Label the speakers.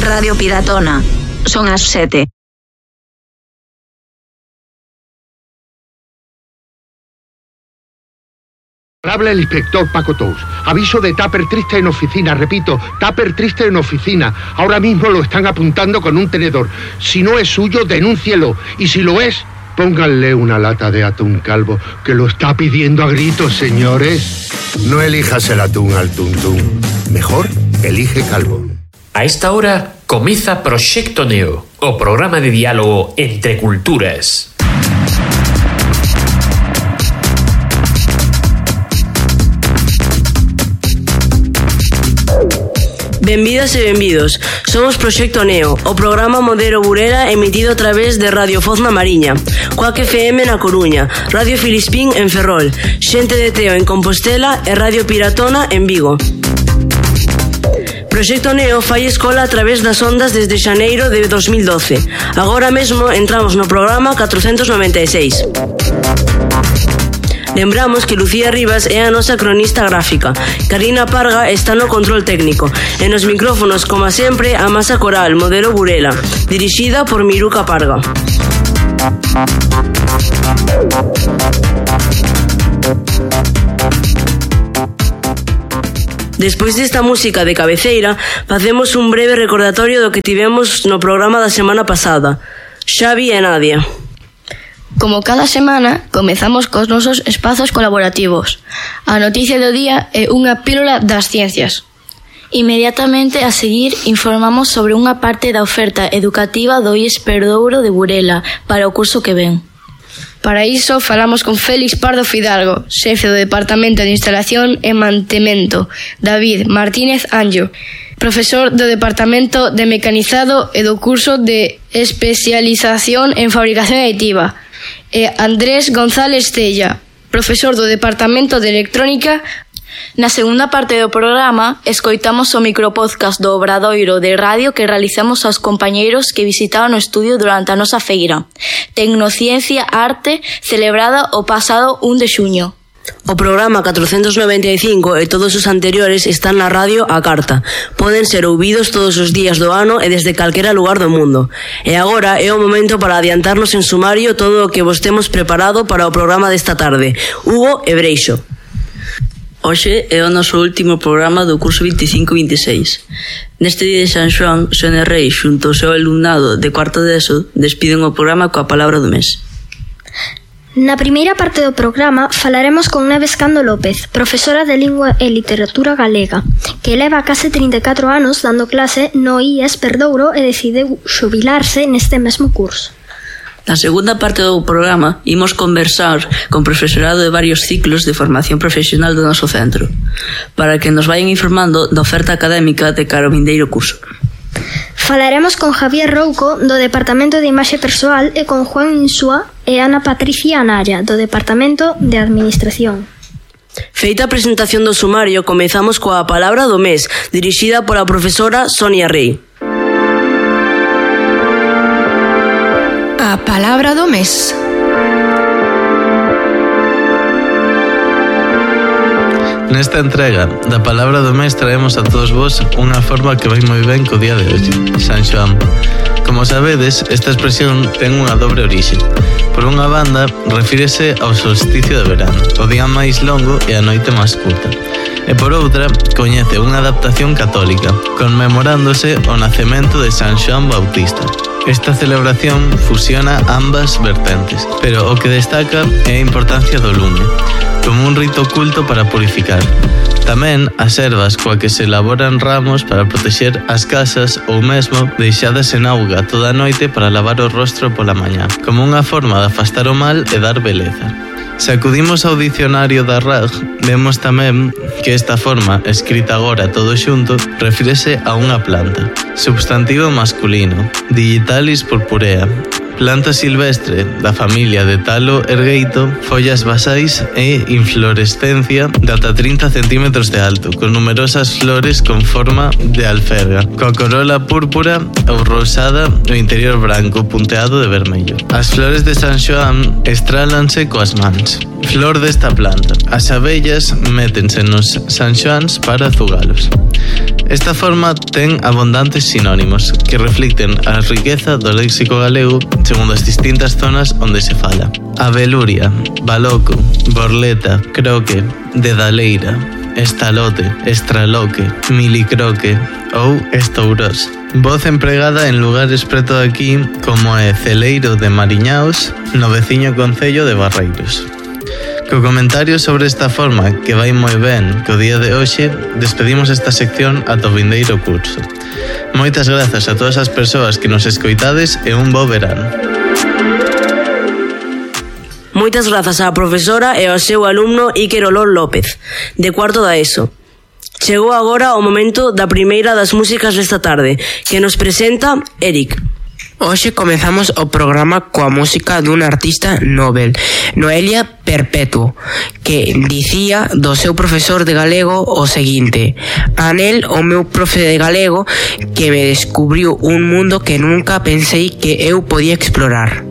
Speaker 1: Radio Piratona. Son as 7.
Speaker 2: Habla el inspector Paco Tous. Aviso de Tupper triste en oficina. Repito, Tupper triste en oficina. Ahora mismo lo están apuntando con un tenedor. Si no es suyo, denúncielo. Y si lo es, pónganle una lata de atún calvo, que lo está pidiendo a gritos, señores.
Speaker 3: No elijas el atún al tuntún. Mejor, elige calvo.
Speaker 4: A esta hora comienza Proxecto Neo, o programa de diálogo entre culturas.
Speaker 5: Benvidas e benvidos. Somos Proxecto Neo, o programa Modelo Burela emitido a través de Radio Foz na Mariña, Coac FM na Coruña, Radio Filispín en Ferrol, Xente de Teo en Compostela e Radio Piratona en Vigo. Proxecto Neo fai escola a través das ondas desde xaneiro de 2012. Agora mesmo entramos no programa 496. Lembramos que Lucía Rivas é a nosa cronista gráfica, Karina Parga está no control técnico e nos micrófonos, como sempre, a Masa Coral, Modelo Burela, dirixida por Miruca Parga. Despois desta música de cabeceira, facemos un breve recordatorio do que tivemos no programa da semana pasada. Xavi e Nadia.
Speaker 6: Como cada semana, comezamos cos nosos espazos colaborativos. A noticia do día é unha pílula das ciencias.
Speaker 7: Inmediatamente a seguir informamos sobre unha parte da oferta educativa do IES Perdouro de Burela para o curso que ven.
Speaker 6: Para iso falamos con Félix Pardo Fidalgo, xefe do Departamento de Instalación e Mantemento, David Martínez Anjo, profesor do Departamento de Mecanizado e do curso de Especialización en Fabricación Aditiva, e Andrés González Cella, profesor do Departamento de Electrónica.
Speaker 7: Na segunda parte do programa, escoitamos o micropodcast do Obradoiro de Radio que realizamos aos compañeiros que visitaban o estudio durante a nosa feira Tecnociencia Arte, celebrada o pasado 1 de xuño.
Speaker 5: O programa 495 e todos os anteriores están na radio á carta. Poden ser ouvidos todos os días do ano e desde calquera lugar do mundo. E agora é o momento para adiantarnos en sumario todo o que vos temos preparado para o programa desta tarde. Hugo e Breixo.
Speaker 8: Hoxe é o noso último programa do curso 25-26. Neste día de San Xoán, Sonia Rei xunto ao seu alumnado de cuarto de ESO despiden o programa coa palabra do mes.
Speaker 9: Na primeira parte do programa falaremos con Neves Cando López, profesora de Lingua e Literatura Galega, que leva case 34 anos dando clase no IES Perdouro e decideu xubilarse neste mesmo curso.
Speaker 8: Na segunda parte do programa imos conversar con profesorado de varios ciclos de formación profesional do noso centro, para que nos vayan informando da oferta académica de cara ao vindeiro curso.
Speaker 9: Falaremos con Javier Rouco, do Departamento de Imaxe Persoal, e con Juan Insúa e Ana Patricia Anaya, do Departamento de Administración.
Speaker 5: Feita a presentación do sumario, comezamos coa palabra do mes, dirixida pola profesora Sonia Rei.
Speaker 10: A palabra do mes.
Speaker 11: Nesta entrega da palabra do mes traemos a todos vos unha forma que vai moi ben co día de hoxe, San Xoán. Como sabedes, esta expresión ten unha dobre orixe. Por unha banda, refírese ao solsticio de verano, o día máis longo e a noite máis curta. E por outra, coñece unha adaptación católica, conmemorándose o nacemento de San Xoán Bautista. Esta celebración fusiona ambas vertentes, pero o que destaca é a importancia do lume, como un rito oculto para purificar. Tamén as ervas coa que se elaboran ramos para protexer as casas ou mesmo deixadas en auga toda a noite para lavar o rostro pola mañá, como unha forma de afastar o mal e dar beleza. Se acudimos ao dicionario da RAG, vemos tamén que esta forma, escrita agora todo xunto, refírese a unha planta. Substantivo masculino, Digitalis purpurea, planta silvestre da familia de Talo ergueito, follas basais e inflorescencia de ata 30 centímetros de alto, con numerosas flores con forma de alferga, coa corola púrpura ou rosada no interior branco punteado de vermello. As flores de San Xoán estrálanse coas mans. Flor desta planta. As abellas métense nos San Xoáns para azugalos. Esta forma ten abundantes sinónimos que reflicten a riqueza do léxico galego segundo as distintas zonas onde se fala. Abeluria, baloco, borleta, croque, dedaleira, estalote, estraloque, milicroque ou estourós. Voz empregada en lugares preto de aquí como é Celeiro de Mariñaos, no veciño concello de Barreiros. Co comentario sobre esta forma, que vai moi ben co día de hoxe, despedimos esta sección ata o vindeiro curso. Moitas grazas a todas as persoas que nos escoitades e un bo verano.
Speaker 5: Moitas grazas á profesora e ao seu alumno Iker Olor López, de cuarto da ESO. Chegou agora o momento da primeira das músicas desta tarde, que nos presenta Eric.
Speaker 12: Hoxe comezamos o programa coa música dun artista Nobel, Noelia Perpetuo, que dicía do seu profesor de galego o seguinte: Anel, o meu profe de galego, que me descubriu un mundo que nunca pensei que eu podía explorar.